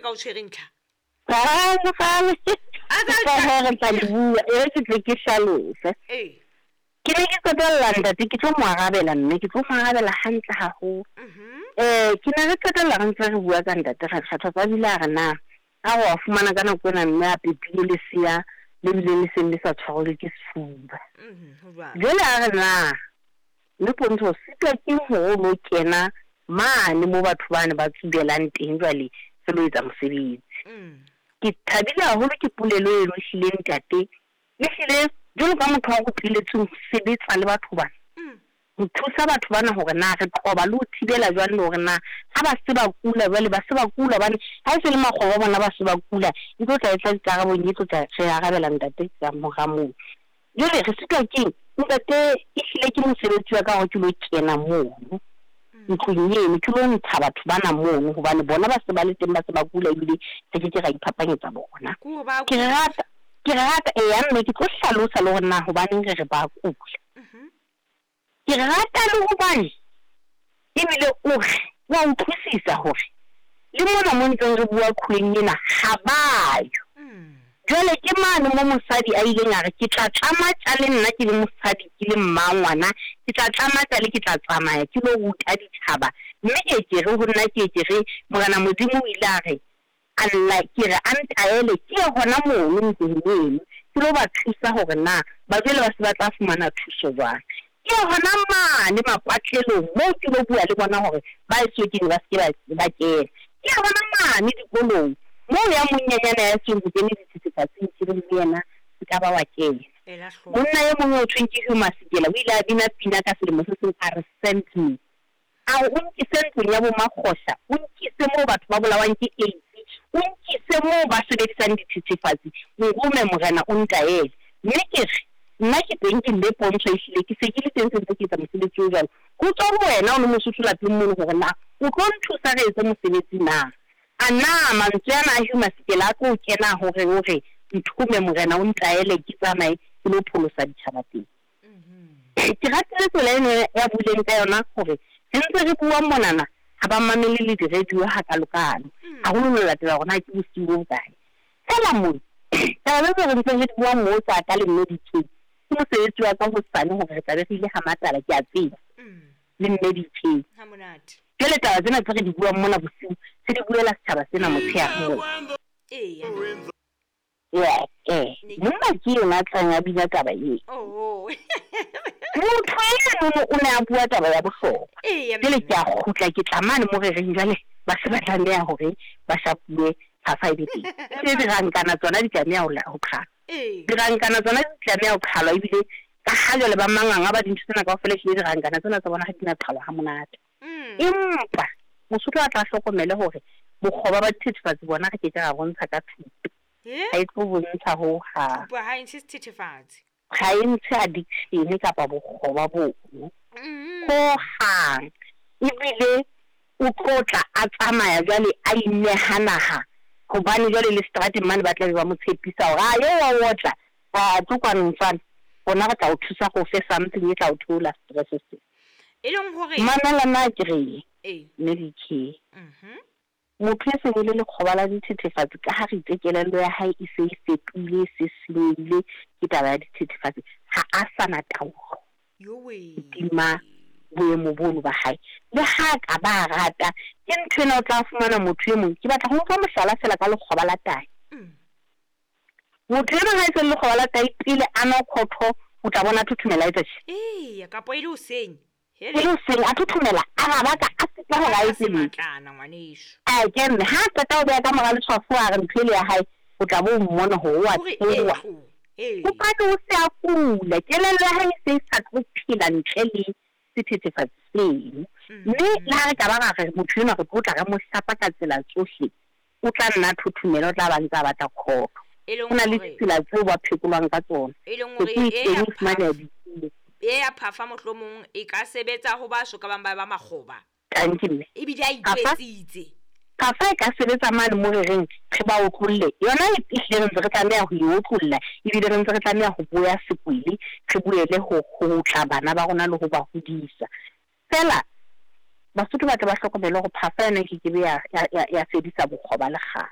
ka o tshwereng tlha. Kgale, kgale. A tsa- Ka he re tla le bua, e re ke tle ke hlalose. Ee. Ke ne ke qetella ntate, ke tlo mo arabela mme, ke tlo mo arabela hantle haholo. Ke ne re qetella re ntse re bua ka ntate Rakgathatso, a bile a re na, a re wa fumana ka nako ena mme a pepile lesea le bileng le seng le sa tshwarwe ke sefuba. Ho jwalo. Jwale a re na, mme Pontsho, o sitwa keng hore o lo kena mane mo batho bane ba tsubelang teng jwale re lo etsa mosebetsi. Ke thabile haholo ke polelo eno ehlile ntate. Ehlile jwalo ka motho wa ruteletsweng ho sebetsa le batho bana. Ho thusa batho bana hore na re qoba le ho thibela jwang le hore na ha ba se ba kula jwale ba se ba kula hobane ha e se le makgoba a bona ba se ba kula, e tlo tla e tla dikarabong, e tlo tla re arabela ntate ka mora moo. Jwale re sitwa keng? Ntate ehlile ke mosebetsi wa ka hore ke lo kena mono ntlong eno, ke lo ntsha batho bana mono hobane bona ba se ba le teng, ba se ba kula ebile re ke ke ra iphapanyetsa bona. Ke hore ba Ke rata, ke rata eya mme ke tlo hlalosa le hore na hobaneng re re ba kula. Ke rata le hobane ebile o re wa utlwisisa hore le mona mo ntseng re bua kgweng ena ha ba yo. Jwale ke mane mo mosadi a ileng a re ke tla tlama tjale nna ke le mosadi ke le mma ngwana, ke tla tlama tjale ke tla tsamaya ke lo ruta ditjhaba. Mme ke ke re ho nna ke ke re Morena Modimo o ile a re a lla ke re a ntaele ke ye hona mono ntlong eno ke lo ba thusa hore na ba jwale ba se ba tla fumana thuso jwang. Ke ye hona mane mapatlelong moo ke lo bua le bona hore ba eso kene ba se ke ba kena. Ke ye hona mane dikolong moo ya monyenyana ya seng ho kene dithethefatsing ke reng le yena se ka ba wa kena. Ela hloko. Monna e mong o thweng ke Hugh Masekela o ile a bina pina ka selemo se seng a re send me. A re o nkise ntlong ya bo makgosha, o nkise moo batho ba bolawang ke AIDS, o nkise moo ba sebedisang dithethefatsi, nrome morena o ntaele. Mme ke re nna ke teng ke mme Pontsho ehlile ke se ke le teng se ntse ke etsa mosebetsi o jwalo. Ho tswa ho wena o le Mosotho lapeng mono hore na o tlo nthusa re etse mosebetsi na. A na mantswe ana a Hugh Masekela a tlo o kena hore o re nthome morena o ntaele ke tsamaye ke lo pholosa ditjhaba teng. Ke ratile tsela eno ya buileng ka yona hore re ntse re bua monana ha ba mamele le di-radio hakalokalo. Haholo ho latela hore na ke bosiu bo bokae. Feela mona, taba tseo re ntseng re di bua moo tsa ka le mme DK, ke mosebetsi wa ka hosane hore re tla be re ile ha Matala, ke a tseba. Le mme DK. Ha monate. Jwale taba tsena tse re di buang mona bosiu, re di buela setjhaba sena motshehare moo. Eya. Ya, monna ke yena a tlang a bina taba eo. Oh. Motho eno o ne a bua taba ya bohlokwa. Eya, Jwale mme. ke a kgutla ke tla mane mo re reng jwale ba se ba tlameha hore ba shapuwe phafa e be teng. Tse dirankana tsona di tlameha ho ho qhalwa. Ee. Dirankana tsona di tlameha ho qhalwa ebile ka ha jwale ba manganga ba dintho tsena kaofela ehlile dirankana tsena tsa bona ha di na qhalwa ha monate. Empa Mosotho a tla hlokomele hore bokgoba ba dithethefatsi bona re ke ke ra bontsha ka thuto. Ha e tlo bontsha ho hang. Thupo ha e ntshe sethethefatsi. Ha e ntshe addiction kapa bokgoba bono. Ho hang. Ebile o tlo tla a tsamaya jwale a ineha naha. Hobane jwale le seterateng mane ba tla be ba mo tshepisa hore a yo wa otla, a tlo kwano mfana. Rona re tla o thusa go fe something e tla o theola stress se. E leng hore Mamela nna ke re, Ee. mme DK. Motho e seng e le lekgoba la dithethefatsi ka ha re itse kelello ya hae e se e fetohile, e se senyehile ke taba ya dithethefatsi, ha a sa na taolo. Yowe. Hodima boemo bono ba hae. Le ha ka ba rata, ke ntho ena o tla fumana motho e mong. Ke batla ho nka mohlala feela ka lekgoba la tahi. Motho ena ha e se le lekgoba la tahi pele a nwa khotho, o tla bona a thothomela a etsa tjhe. Eya, kapa e le hoseng. E le hoseng, a thothomela, a rabaka, a sitwa hore a etse letho. Sematlana, ngwaneso. A ke mme, ha a qeta ho beha ka mora letshwafo a re ntho ele ya hae, o tla bo o mmona hore o a Hore e tsoha. tlo, ee. Hobane o se a kula, kelello ya hae e se e sa tlo phela ntle le sethethefatsi seno. Mme le ha re ka ba ra re motho enwa re tlo tla re mo shapa ka tsela tsohle, o tla nna thothomela, o tla ba ntse a batla khotso. E leng Ho na le hore ditsela tseo ba phekolwang ka tsona. E leng Ke hore tlo e teng ya o fumaneha phafa. dithuo. E ya phafa mohlomong e ka sebetsa ho ba so ka bang ba ba makgoba. Thank you, mme. Ebile a Phafa? itwetsitse. Phafa e ka sebetsa mane mo re reng re ba otlolle. Yona e ehlile re ntse re tlameha ho e otlolla, ebile re ntse re tlameha ho boya sekwele, re boele ho tla bana ba rona le ho ba hodisa. Feela Basotho ba tle ba hlokomele hore phafa yona e kekebe ya fedisa bokgoba le kgale.